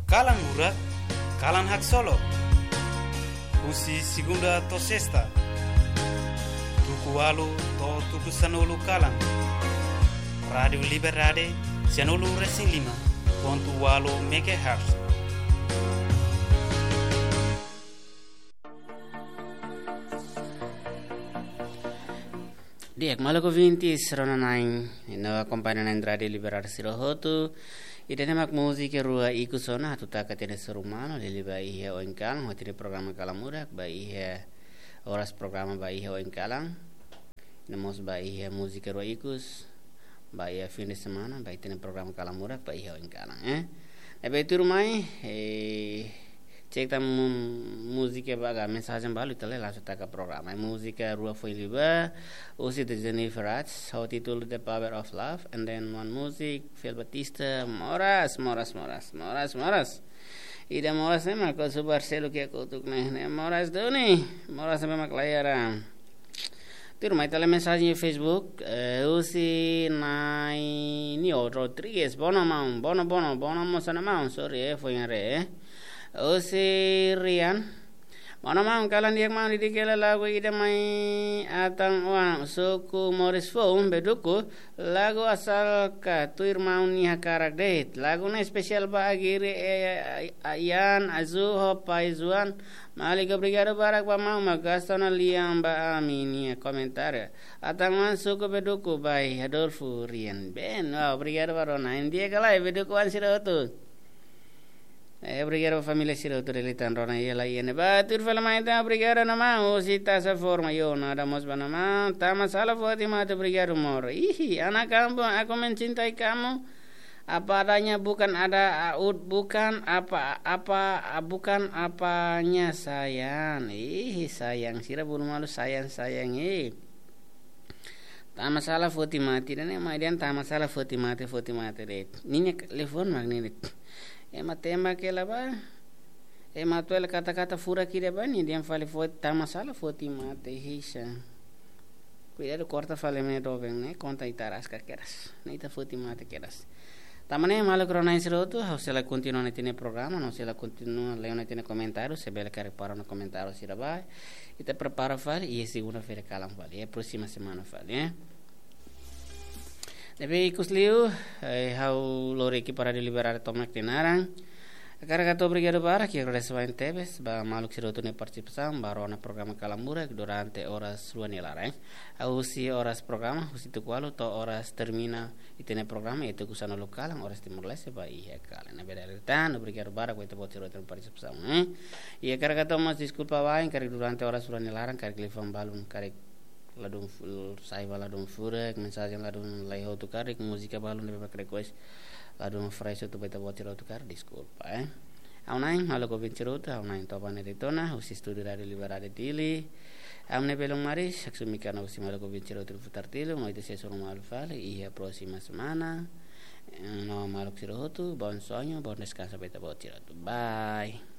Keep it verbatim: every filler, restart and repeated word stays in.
Kalan Murak, kalan haksolok. Husi segunda to'o sesta, tuku ualu to'o tuku sanulu kalan. Rádiu Liberdade, sianulu resin lima pontu ualu megahertz. Di'ak, maluk ouvintes rona-na'in no akompaña na'in Rádiu Liberdade sira hotu. Ida-ne'e mak múzika rua ikus ona atu taka tiha ona sira-nia maun, liuliu ba iha oin kalan, hodi iha programa Kalan Murak, ba iha oras programa ba iha oin kalan. No mós ba iha múzika rua ikus, ba iha fin de semana, ba iha tiha ona programa Kalan Murak, ba iha oin kalan, eh. Ne'ebé tuirmai, eh, cek tan mu-, múzika ba ka mensajen balu ita lee langsung taka programa. Eh, múzika rua foin liubá, husi The Jennifer Rats, ho títulu The Power of Love, and then one music, Fel Batista, Moras, Moras, Moras, Moras, Moras. Ida Moras ne'e mak husu Barcelo ke kotuk ne'e, ne'e Moras duni, Moras ne'e mak laiha. Tuirmai ita lee mensajen iha Facebook, eh, husi Nainio Rodrigues, bono maun, bono, bono, bono mós ona maun, sorry, eh, foin haree, eh. Husi Rian, bono maun, kalan di'ak maun, didik hela lagu ida mai Atan Oan, suku Moris Foun, Beduku, lagu Asal Ka, tuir maun nia hakarak de'it. Lagu ne'e espesiál ba Agiri, eh, Ian, Azu, ho pai Zuan, Malik, obrigadu barak ba maun mak gasta ona lian ba ami-nia komentáriu. Atan Oan, suku Beduku, by Adolfo Rian. Ben, wah, obrigadu ba rona-na'in, di'ak ka lae, Beduku oan sira hotu. Eh, obrigadu ba família sira hotu, dele tan rona iha lai iha ne'ebá. Tuir fali mai ita, obrigadu ona maun, husi Tasaforma, yo, nada mós ba ona maun. Tama sala foti mate, obrigadu amor. Ihi, anak kampung, aku mencintai kamu. Apa adanya, bukan ada, a, ut-, bukan apa, apa, a, bukan apanya sayang. Ih, sayang, sira bolu malu sayang, sayang, eh. Tama sala foti mate, ida-ne'e mai dehan tama sala foti mate, foti mate de'it. Ninia telefone mak ne'e de'it. Ema tembak hela ba. Ema atu hela kata-kata furak ida ba, nia dehan fali foti, tama sala foti mate, hisa. Kuidadu korta fali mai doben ne'e, konta ita araska kedas. Ne'e ita foti mate kedas. Tanba ne'e maluk rona-na'in sira hotu, ha'u sei la kontinua ita-nia programa, no sei la kontinua lee ita-nia komentáriu, se bele karik para ona komentáriu sira ba. Ita prepara fali, iha segunda-feira kalan fali, iha próxima semana fali, eh. Ne'ebé ikus liu, eh, ha'u lori ekipa Rádiu Liberdade tomak nia naran. Hakarak hato'o obrigadu barak, i agradese barak tebes ba maluk sira hotu nia partisipasaun, ba rona programa Kalan Murak durante oras rua nia laran, eh. Husi oras programa, husi tuku ualu to'o oras termina ita-nia programa, iha tuku sanulu kalan, oras Timor-Leste, ba iha kalan. Ne'ebé dala ida tan, obrigadu barak ba ita-boot sira hotu nia partisipasaun, eh. I hakarak hato'o mós deskulpa ba, karik durante oras rua nia laran, karik liafuan balun, karik ladún fu-, sai ba ladún furak, mensajen ladún laiha hotu karik, múzika balun ne'ebé mak request ladún fresh hotu ba ita-boot sira hotu karik, deskulpa, eh. Ha'u-nia na'in, maluk ouvinte sira hotu, ha'u-nia na'in Tobane Daytona, husi estúdiu Rádiu Liberdade Dili. Ami-nia belun maris, Saksumi Karna, husi maluk ouvinte sira hotu Futar Tilu, no ita sei hasoru malu fali iha próxima semana. Eh, no maluk sira hotu, bom sonho, bom descanso ba ita-boot sira hotu. Bye.